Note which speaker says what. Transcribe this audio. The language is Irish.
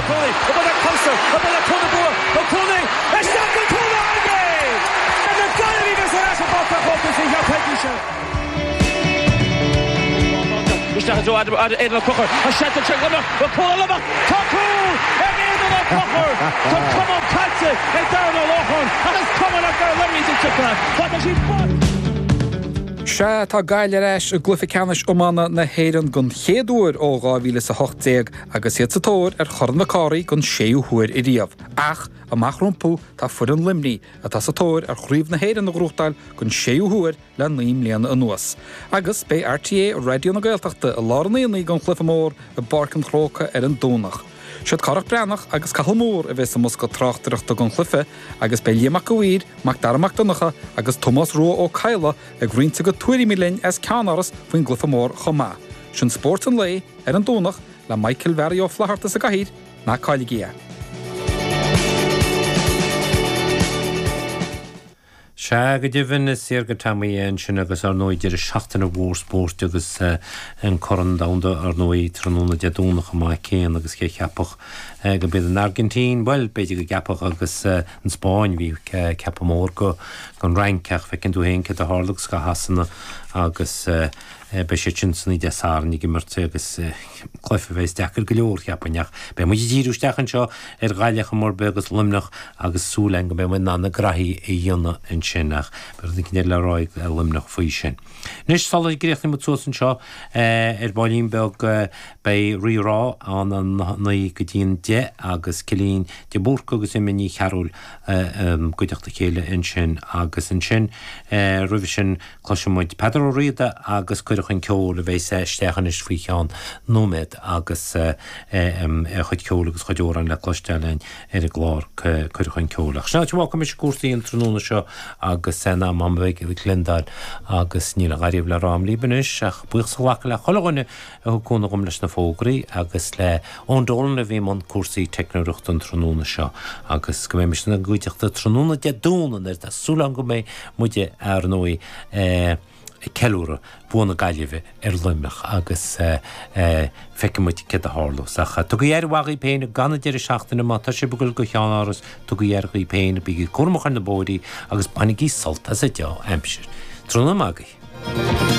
Speaker 1: Cooney, obair le Coulson, obair le Cúl na Bua, Ó Cooney, isteach go cúl na é! Na Gaillimhigh ar ais i bPáirc an Chrócaigh sa chéad choicís seo. Isteach i dtreo Aidan Ó Conchúir, tá seans anseo ag Luimneach, bhfuil cúl ag Luimneach? Tá cúl ag Aodán Ó Conchúir! Tá camán caite ag Darren Ó Lorcáin ach is cuma le fear Luimnigh sa tsiopa, tá siad fós.
Speaker 2: Sea, tá Gaillimh ar ais i gcluiche ceannais iomána na hÉireann den chéad uair ó 2018 agus iad sa tóir ar Chorn Mhic Cárthaigh den séú huair ariamh. Ach amach rompu tá foireann Luimnigh, atá sa tóir ar Chraobh na hÉireann a ghnóthachtáil den séú huair le 9 mbliana anuas. Agus beidh RTÉ Raidió na Gaeltachta i lár an aonaigh don chluiche mór i bPáirc an Chrócaigh ar an Domhnach. Siad Cárthach Breathnach agus Cathal Moore a bheas i mbosca tráchtaireachta don chluiche agus beidh Liam Mac a' Mhaoir, Mac Dara Mac Donncha agus Tomás Rua Ó Cadhla ag roinnt a gcuid tuairimí linn as Ceannáras faoin gcluiche mór chomh maith. Sin Spórt an Lae ar an Domhnach le Michael Mhearaí Ó Flatharta sa gcathaoir, ná cailligí é.
Speaker 3: Sea, go deimhin, is fíor do Tommy é ansin agus ar ndóigh deireadh seachtaine mhór spóirt agus an Corn Domhanda ar ndóigh tráthnóna Dé Domhnaigh chomh maith céanna agus cé cheapfadh gurb iad an Airgintín, bhuel b'fhéidir go gceapfadh agus an Spáinn, bhí ceapadh mór don Fhrainc ach feiceann tú féin céard a tharla agus do Shasana agus Beidh siad sin san oíche Dé Sathairn ag imirt agus cluiche a bheas deacair go leor, cheapfainn, ach beidh muid ag díriú isteach anseo ar Ghaillimh chomh mór beag agus Luimneach agus súil againn go mbeidh muid in ann na graithí a dhéanamh ansin ach beidh rud éicint eile le rá ag Luimneach faoi sin. Anois, sula gcríochnaíonn muid suas anseo ar baillín beag, beidh Rí Rá ann a 9 go dtí an 10 agus Cillín de Búrca agus Emma Ní Chearúil i gcuideachta a chéile ansin agus ansin roimhe sin Cloisfidh muid Peadar Ó Riada agus Cuireadh Chun Ceoil a bheas isteach anois faoi cheann nóiméad agus a chuid ceoil agus a chuid amhrán le cloisteáil againn ar an gclár Cuireadh Chun Ceoil. Ach sin áit a bhfágfaidh mise cúrsaí an tráthnóna seo agus in am a bheidh ag Glendale agus níl a dhath ariamh le rá agam libh anois ach buíochas a ghlacadh le chuile dhuine a thug cúnamh dhom leis na fógraí agus le Eoin Dolan a bhí i mbun cúrsaí teicneoireachta an tráthnóna seo agus go mbeimis ina gcuideachta tráthnóna Dé Domhnaigh nuair atá súil agam go mbeidh muide ar ndóigh ag ceiliúradh bua na Gaillimhe ar Luimneach agus feicfidh muid céard a tharlós. Ach tugaigí aire mhaith dhaoibh féin ag an deireadh seachtaine má tá sibh ag dul go Ceann Áras tugaigí aire dhaoibh féin, bígí cúramach ar na bóithrí agus bainigí sult as an dea-aimsir. Tráthnóna maith agaibh.